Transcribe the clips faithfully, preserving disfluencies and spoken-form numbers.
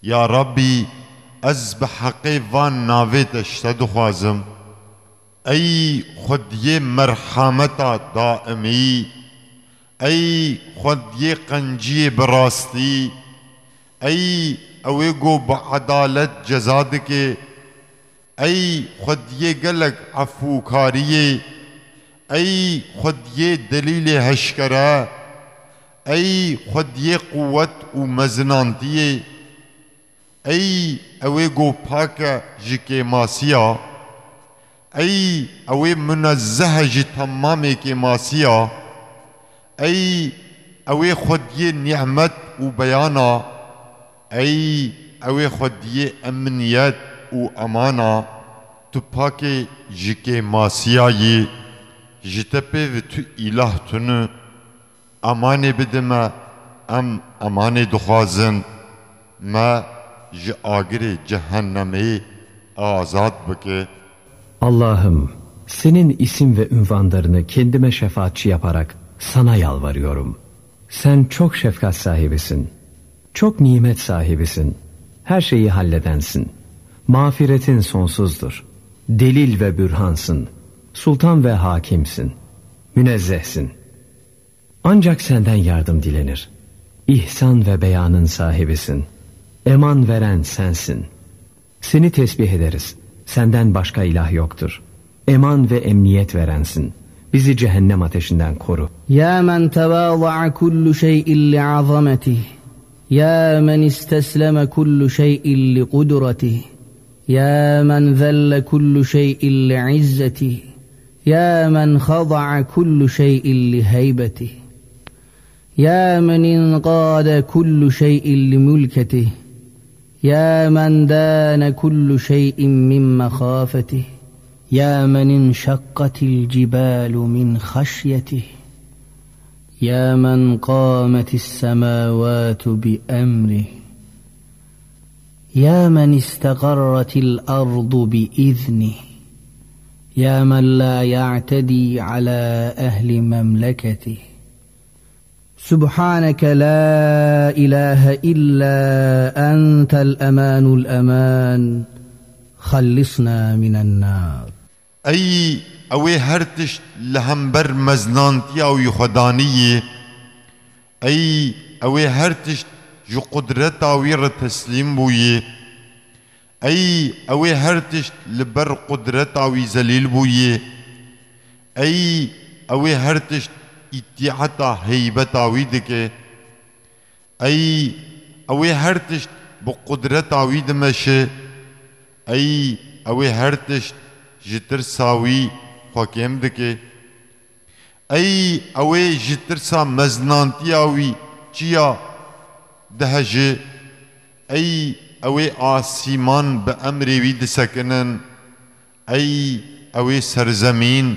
Ya Rabbî, ez bi heqê van navê te ji te dixwazim. Ey Xwediyê merhameta daimî, ey Xwediyê qenciyê bi rastî, ey ew ê ku bi edalet ceza dike, ey Xwediyê gelek efûkariyê, ey Xwediyê delîlê heşkere, ey Xwediyê quwet û mezinantiyê, ey ew ê ku pak e ji kêmasiya, ey ew ê munezzeh e ji temamê kêmasiya, ey ew ê Xwediyê nîmet û beyana, ey ew ê Xwediyê emniyet û emana, tu pakê ji kêmasiya yî, ji te pê ve tu îlah tune. Emanê bide me, em emanê dixwazin, me ji agirê cehennemê azad bike. Allah'ım, senin isim ve ünvanlarını kendime şefaatçi yaparak sana yalvarıyorum. Sen çok şefkat sahibisin. Çok nimet sahibisin. Her şeyi halledensin. Mağfiretin sonsuzdur. Delil ve bürhansın. Sultan ve hakimsin. Münezzehsin. Ancak senden yardım dilenir. İhsan ve beyanın sahibisin. Eman veren sensin. Seni tesbih ederiz. Senden başka ilah yoktur. Eman ve emniyet verensin. Bizi cehennem ateşinden koru. يا من تواضع كل شيء لعظمته، يا من استسلم كل شيء لقدرته، يا من ذل كل شيء لعزته، يا من خضع كل شيء لهيبته، يا من انقاد كل شيء لملكته، يا من دان كل شيء من مخافته، يا من انشقت الجبال من خشيته، يا من قامت السماوات بأمره، يا من استقرت الأرض بإذنه، يا من لا يعتدي على أهل مملكته، سبحانك لا إله إلا أنت الأمان الأمان، خلصنا من النار. Ey ew ê her tişt li hember mezinantiya wî xwe danî yî, ey ew ê her tişt ji qudreta wî re teslîm bûyî, ey ew ê her tişt li ber qudreta wî zelîl bûyî, ey ew ê her tişt îtîeta heybeta wî dike, ey ew ê her tişt bi qudreta wî dimeşe, ey ew ê her tişt ji tirsa wî xwe kêm dike. Ey ew ê ji tirsa mezinantiya wî çiya diheje, ey ew ê asîman bi emrê wî disekinin, ey ew ê serzemîn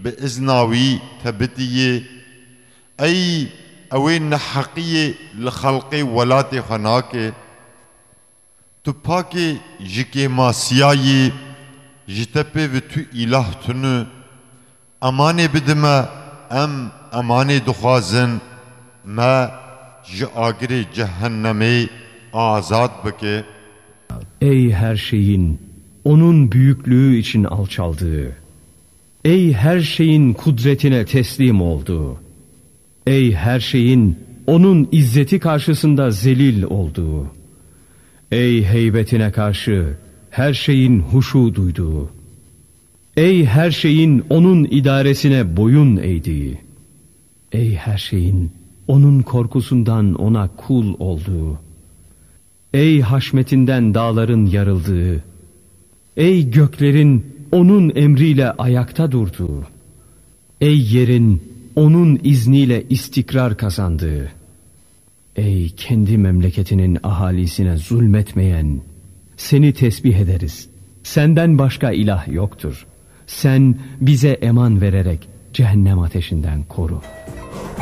bi izna wî tebitî yê, ey ew ê neheqiyê li xelqê welatê xwe nake. Tu pakê ji kêmasiya yî, ji te pê ve tu îlah tune. Emanê bide me, em emanê dixwazin, me ji agirê cehennemê azad bike. Ey her şeyin onun büyüklüğü için alçaldığı, ey her şeyin kudretine teslim olduğu, ey her şeyin onun izzeti karşısında zelil olduğu, ey heybetine karşı her şeyin huşu duyduğu, ey her şeyin onun idaresine boyun eğdiği, ey her şeyin onun korkusundan ona kul olduğu, ey haşmetinden dağların yarıldığı, ey göklerin onun emriyle ayakta durduğu, ey yerin onun izniyle istikrar kazandığı, ey kendi memleketinin ahalisine zulmetmeyen, seni tesbih ederiz. Senden başka ilah yoktur. Sen bize eman vererek cehennem ateşinden koru.